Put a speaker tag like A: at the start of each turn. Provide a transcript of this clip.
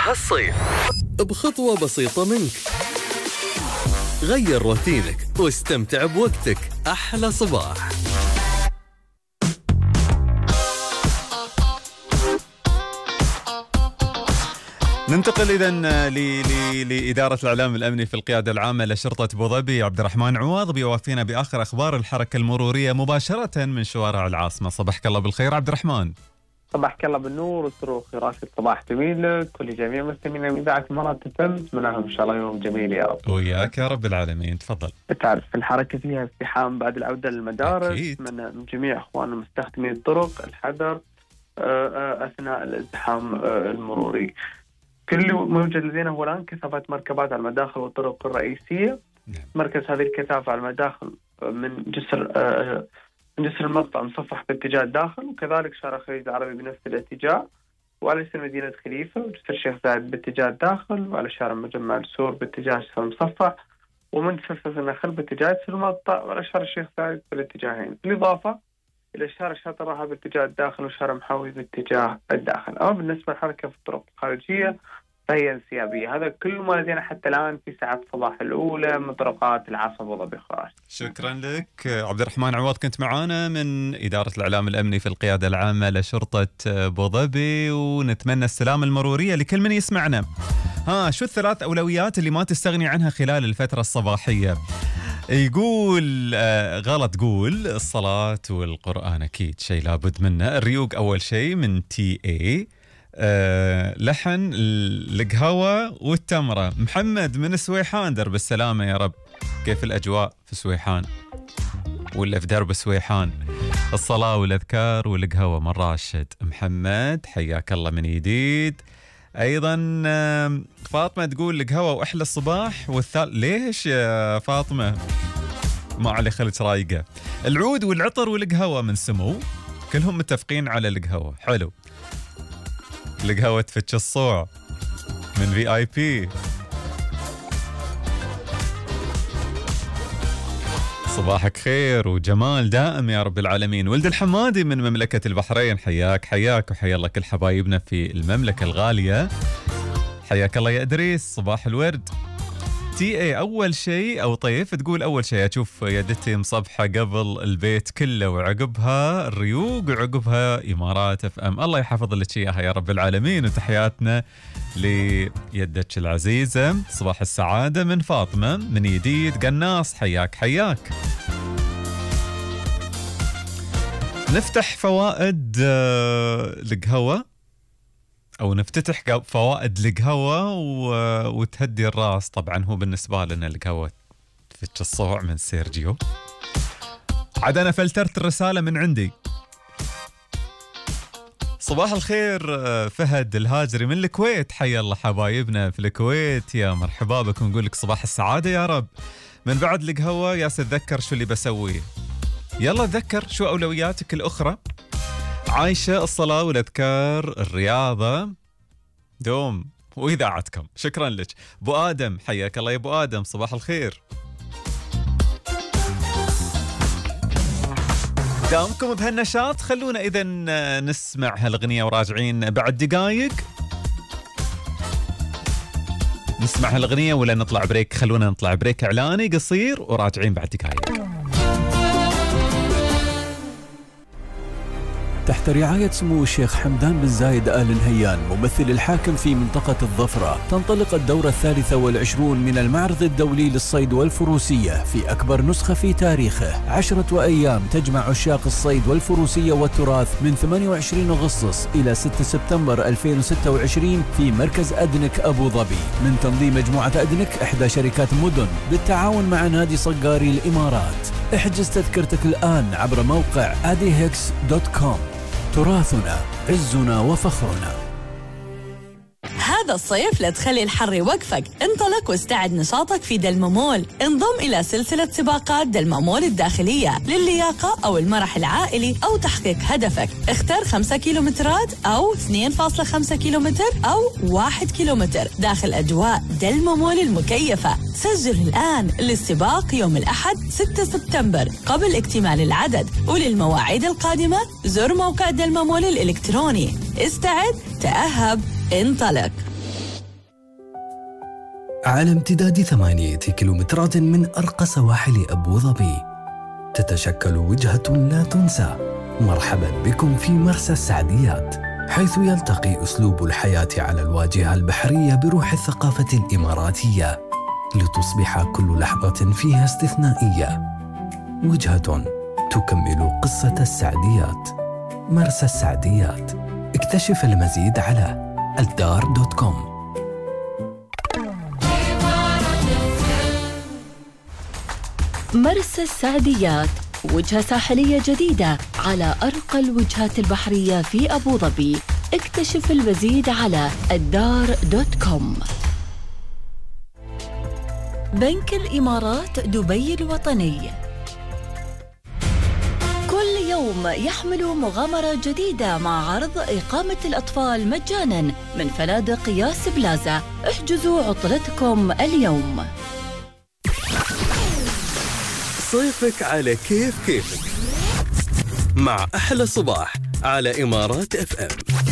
A: هالصيف بخطوة بسيطة منك. غير روتينك واستمتع بوقتك. أحلى صباح.
B: ننتقل إذن لإدارة الإعلام الأمني في القيادة العامة لشرطة أبوظبي. عبد الرحمن عواض بيوافينا بآخر أخبار الحركة المرورية مباشرة من شوارع العاصمة. صباحك الله بالخير عبد الرحمن.
C: صباحك الله بالنور والسرور راشد. صباح جميل لك ولجميع مستمعين من إذاعة الإمارات FM. أتمنى إن شاء الله يوم جميل يا رب.
B: وياك يا رب العالمين. تفضل.
C: تعرف الحركة فيها ازدحام بعد العودة للمدارس.
B: أكيد.
C: من جميع إخواننا مستخدمي الطرق الحذر أثناء الازدحام المروري. كل موجود لدينا هو الآن كثافة مركبات على المداخل والطرق الرئيسية. مركز هذه الكثافة على المداخل من جسر المقطع مصفح باتجاه الداخل، وكذلك شارع الخليج العربي بنفس الاتجاه، وعلى جسر مدينة خليفة وجسر الشيخ زايد باتجاه الداخل، وعلى شارع مجمع السور باتجاه جسر المصفح، ومن جسر النخل باتجاه جسر المقطع، وعلى شارع الشيخ زايد بالاتجاهين، بالإضافة إلى شارع شاطئ الراحة باتجاه الداخل وشارع محاوي باتجاه الداخل. أما بالنسبة للحركة في الطرق الخارجية فهي انسيابية. هذا كل ما لدينا حتى الآن في ساعات الصباح الأولى من طرقات العاصمة أبوظبي.
B: شكرا لك عبد الرحمن عواض، كنت معانا من إدارة الإعلام الأمني في القيادة العامة لشرطة أبوظبي، ونتمنى السلامة المرورية لكل من يسمعنا. شو الثلاث أولويات اللي ما تستغني عنها خلال الفترة الصباحية؟ يقول غلط، قول الصلاة والقرآن أكيد شيء لابد منه. الريوق أول شيء من TA. لحن القهوة والتمرة. محمد من سويحان، درب السلامة يا رب. كيف الأجواء في سويحان ولا في درب سويحان؟ الصلاة والأذكار والقهوة من راشد. محمد حياك الله من جديد. أيضا فاطمة تقول القهوة وأحلى الصباح ليش يا فاطمة؟ ما علي خلت رايقة. العود والعطر والقهوة من سمو، كلهم متفقين على القهوة. حلو. القهوة تفتش الصوع من VIP. صباحك خير وجمال دائم يا رب العالمين. ولد الحمادي من مملكة البحرين، حياك وحيا الله كل حبايبنا في المملكة الغالية. حياك الله يا إدريس، صباح الورد. TA أول شيء أو طيف تقول أول شيء أشوف يدتي مصبحة قبل البيت كله، وعقبها الريوق، وعقبها إمارات FM. الله يحفظ لك إياها يا رب العالمين. وتحياتنا ليدتك العزيزة. صباح السعادة من فاطمة من جديد قناص، حياك. نفتح فوائد القهوة أو نفتتح فوائد القهوة وتهدي الراس. طبعا هو بالنسبة لنا القهوة تفتش الصوع من سيرجيو. عاد أنا فلترت الرسالة من عندي. صباح الخير فهد الهاجري من الكويت، حيا الله حبايبنا في الكويت، يا مرحبا بكم. نقول لك صباح السعادة يا رب. من بعد القهوة يا تتذكر شو اللي بسويه. يلا تذكر شو أولوياتك الأخرى. عايشة الصلاة والأذكار، الرياضة، دوم وإذاعتكم. شكرا لك. أبو آدم حياك الله يا أبو آدم، صباح الخير. دامكم بهالنشاط. خلونا إذن نسمع هالأغنية وراجعين بعد دقايق. نسمع هالأغنية ولا نطلع بريك؟ خلونا نطلع بريك إعلاني قصير وراجعين بعد دقايق.
D: تحت رعاية سمو الشيخ حمدان بن زايد آل نهيان ممثل الحاكم في منطقة الظفرة، تنطلق الدورة 23 من المعرض الدولي للصيد والفروسية في أكبر نسخة في تاريخه. 10 أيام تجمع عشاق الصيد والفروسية والتراث من 28 أغسطس إلى 6 سبتمبر 2026 في مركز أدنك أبو ظبي، من تنظيم مجموعة أدنك إحدى شركات مدن بالتعاون مع نادي صقاري الإمارات. احجز تذكرتك الآن عبر موقع adihx.com. تراثنا عزنا وفخرنا.
E: هذا الصيف لا تخلي الحر يوقفك، انطلق واستعد نشاطك في دلممول. انضم إلى سلسلة سباقات دلممول الداخلية للياقة أو المرح العائلي أو تحقيق هدفك. اختر 5 كيلومترات أو 2.5 كيلومتر أو 1 كيلومتر داخل أجواء دلممول المكيفة. سجل الآن للسباق يوم الأحد 6 سبتمبر قبل اكتمال العدد، وللمواعيد القادمة زر موقع دلممول الإلكتروني. استعد، تأهب، انطلق.
F: على امتداد 8 كيلومترات من أرقى سواحل أبو ظبي تتشكل وجهة لا تنسى. مرحبا بكم في مرسى السعديات، حيث يلتقي أسلوب الحياة على الواجهة البحرية بروح الثقافة الإماراتية، لتصبح كل لحظة فيها استثنائية. وجهة تكمل قصة السعديات. مرسى السعديات، اكتشف المزيد على الدار.com.
G: مرسى السعديات، وجهة ساحلية جديدة على أرقى الوجهات البحرية في أبو ظبي. اكتشف المزيد على الدار.com. بنك الإمارات دبي الوطني كل يوم يحمل مغامرة جديدة مع عرض إقامة الأطفال مجاناً من فنادق ياس بلازا. احجزوا عطلتكم اليوم.
A: صيفك على كيفك مع أحلى صباح على إمارات FM.